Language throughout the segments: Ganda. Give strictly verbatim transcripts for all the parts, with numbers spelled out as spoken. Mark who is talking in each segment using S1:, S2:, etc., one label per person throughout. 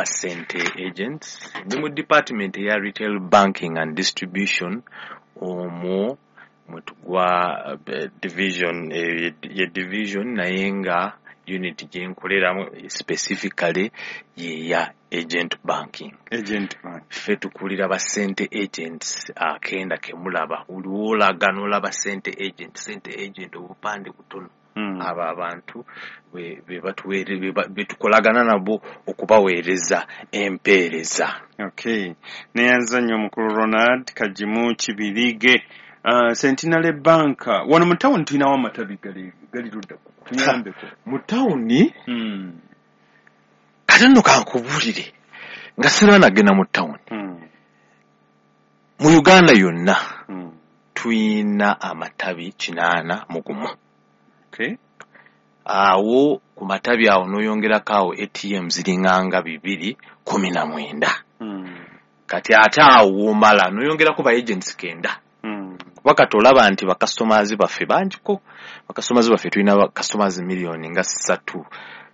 S1: Basente agents. Ndi mu department eya retail banking and distribution, omwo mwetugwa eh, division, eh, ye division, naye nga unit gyenkoleramu specifically yeya agent banking.
S2: Agent bank.
S1: Ffe tukulira ba sente agents akenda kemulaba uliwolaga n'olaba sente agent, sente agent, obupande butono.
S2: Mm.
S1: Abo abantu be be batuweere- be ba- be tukolagana nabo okubaweereza empeereza.
S2: Okay, neyanza nnyo omukulu Ronald Kagimu Kibirige. uh, Centenary Bank, wano mu tawuni tulinawo amatabi gali gali ludda? Tuyambeko.
S1: Mu tawuni?
S2: mm.
S1: Kate nno kankubuulire nga sirina nagenda mu tawuni.
S2: Mm.
S1: Mu Uganda yonna
S2: Mm.
S1: tuyina amatabi kinaana mu gumu.
S2: Okay
S1: Awo ku matabi awo n'oyongerako awo A T M ziringanga bibiri kumi na mwenda.
S2: mm.
S1: Kati ate awo womala n'oyongerako ba agents kenda,
S2: Mm.
S1: kuba kati olaba nti bakasitomazi baffe bangiko. Bakasitomazi baffe tulina bakasitomazi miliyoni nga ssatu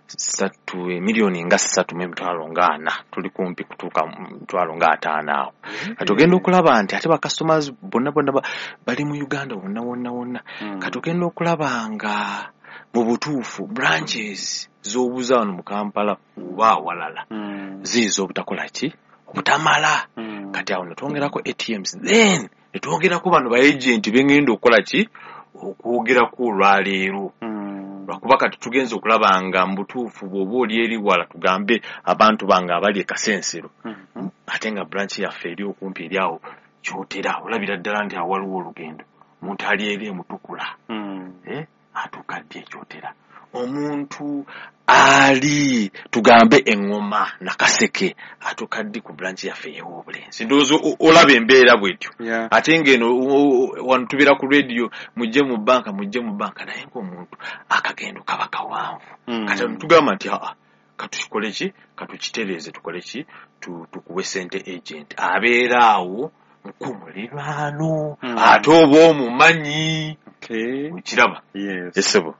S1: ssatu miliyoni nga ssatu mu emitwalo nga ana, tuli kumpi kutuuka mu mitwalo nga ataano awo. Kati ogenda okulaba nti ate bakasitomazi bonna bonna ba- bali mu Uganda wonna wonna wonna.
S2: Mm.
S1: Kati ogenda okulaba nga mu butuufu branches z'obuza wano mu Kampala oba awalala
S2: Mm.
S1: ziyinza obutakola ki, obutamala.
S2: Mm.
S1: Kati awo netwongerako A T Ms, then netwongerako bano ba agent bengenda okukola ki, okwogerako olwaleero,
S2: Mm.
S1: lwakuba kati tugenza okulaba nga mu butuufu bw'oba oli eri wala, tugambe abantu bange abali e Kasensero,
S2: Mhm.
S1: ate nga branch yaffe eri okumpi eri awo Kyotera, olabira ddala nti awo waliwo olugendo. Omuntu ali eri emutukula,
S2: Mm.
S1: eh, atuuka ddi ekyotera? Omuntu ali tugambe eŋŋoma Nakaseke atuuka ddi ku branch yaffe ey'Obulenzi? Ndowooza o- olaba embeera bwetyo.
S2: Yeah.
S1: Ate ng'eno o- o- wano tubeera ku radio, mujje mu banka, mujje mu banka, naye ng'omuntu akagendo kaba kawanvu.
S2: Mm.
S1: Kati tugamba nti aa, katukikole ki, katukitereeze, tukole ki, Tu- tukuwe sente agent abeera awo ku muliraano,
S2: Mm.
S1: ate oba omumanyi.
S2: Okay.
S1: Okiraba?
S2: Yes.
S1: Esebo.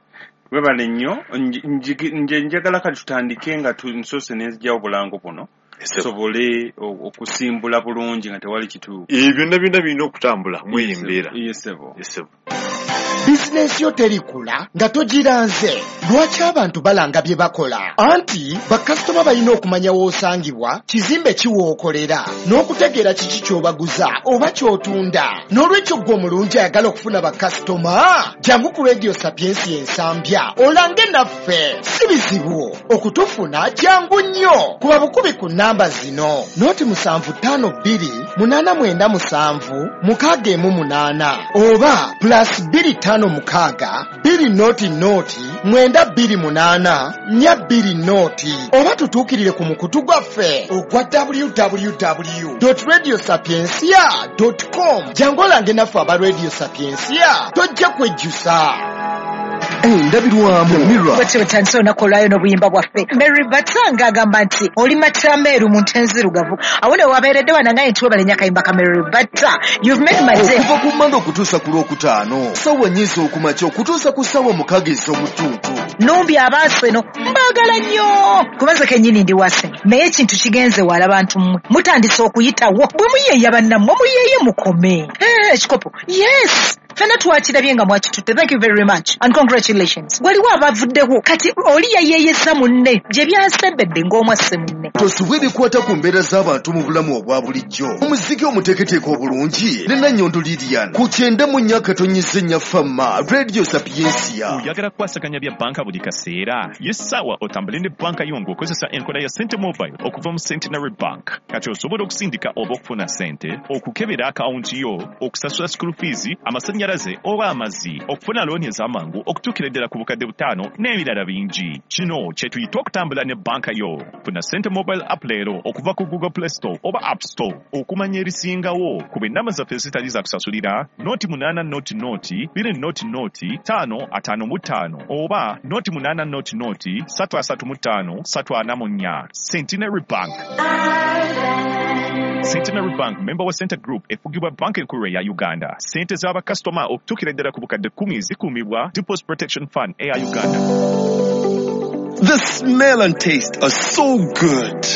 S2: Webale nnyo. Nji- nji- nje njagala kati tutandike nga tu- nsoose nenzigyawo obulango buno,
S1: Esebo.
S2: tusobole o- okusimbula bulungi nga tewali kitu.
S1: Ebyo byonna byonna birina okutambula mweyo embeera.
S2: Yesebo.
S1: Esebo.
S3: Bizinensi yo terikula nga togiranze. Lwaki abantu balanga bye bakola? Anti bakasitoma balina okumanya w'osangibwa, kizimbe kiwookolera, n'okutegeera kiki ky'obaguza oba ky'otunda. N'olwekyo ggwe omulungi ayagala okufuna bakasitoma, jangu ku Radio Sapiensia Ensambya olange naffe. Si bizibu okutufuna, jangu nnyo. Kuba bukubi ku namba zino: noti musanvu ttaano bbiri munaana mwenda musanvu mukaaga emu munaana, oba plus bbiri ttaano mukaaga bbiri noti noti mwenda bbiri munaana nnya bbiri noti, oba tutuukirire ku mukutu gwaffe ogwa W W W radio sapiencia com. Jangu olange naffe aba Radio Sapiencia, tojja kwejjusa.
S4: Endabirwamu Mirror.
S5: Bwetyo bwetandise olunaku olwayo n'obuyimba bwaffe. Mary Batanga agamba nti oli matameeru mu nte nzirugavu. Awo ne wabeeredde wanangaye nti webale nnyo akayimba ka Mary Bata. You've made my day.
S4: Okuva ku Mmande okutuusa ku Lwokutaano, ssaawa nnya ez'okumakya okutuusa ku ssaawa mukaaga ez'omutuntu.
S5: Numbi abaaseno mbaagala nnyo, kubanze kennyini ndi wase, naye ekintu kigenze wala. Bantu mmwe mutandise okuyitawo bwe muyeeya bannammwe, muyeeye mukome. Eh, ekikopo yes, ffenna twakirabye nga mwakitutte. Thank you very much and congratulations. Waliwo abavuddewo kati oli yayeeyesa munne gye byasembedde ng'omwasse munne.
S4: Tosubwa ebikwata ku mbeera z'abantu mu bulamu obwa bulijjo, omuziki omuteeketeeke obulungi ne Nannyondo Lilian ku kyenda mu nnya akatonyeza ennya Fama Radio Sapiencia.
S6: Oyagala kukwasaganya bya banka buli kaseera? Ye ssaawa otambule ne banka yo ng'okozesa enkola ya Sente Mobile okuva mu Centenary Bank. Kati osobola okusindika oba okufuna sente, okukebera akawunti yo, okusasula school fees, amasannyalaze oba amazzi, okufuna looni ez'amangu okutuukira ddala ku bukadde butaano n'ebirala bingi. Kino kye tuyita okutambula ne banka yo. Funa Sente Mobile app leero okuva ku Google Play Store oba App Store. Okumanya ebisingawo kuba ennamba zaffe ezitali za kusasulira: noti munaana noti noti bbiri noti noti ttaano ataano mu ttaano oba noti munaana noti noti ssatu asatu mu ttaano ssatu ana mu nnya. Centenary Bank. Centenary Bank, member wa Sente Group, efugibwa Banka Enkulu eya Uganda. Sente z'abakasitoma okutuukira ddala ku bukadde kkumi zikuumibwa Deposit Protection Fund eya Uganda.
S4: The smell and taste are so good.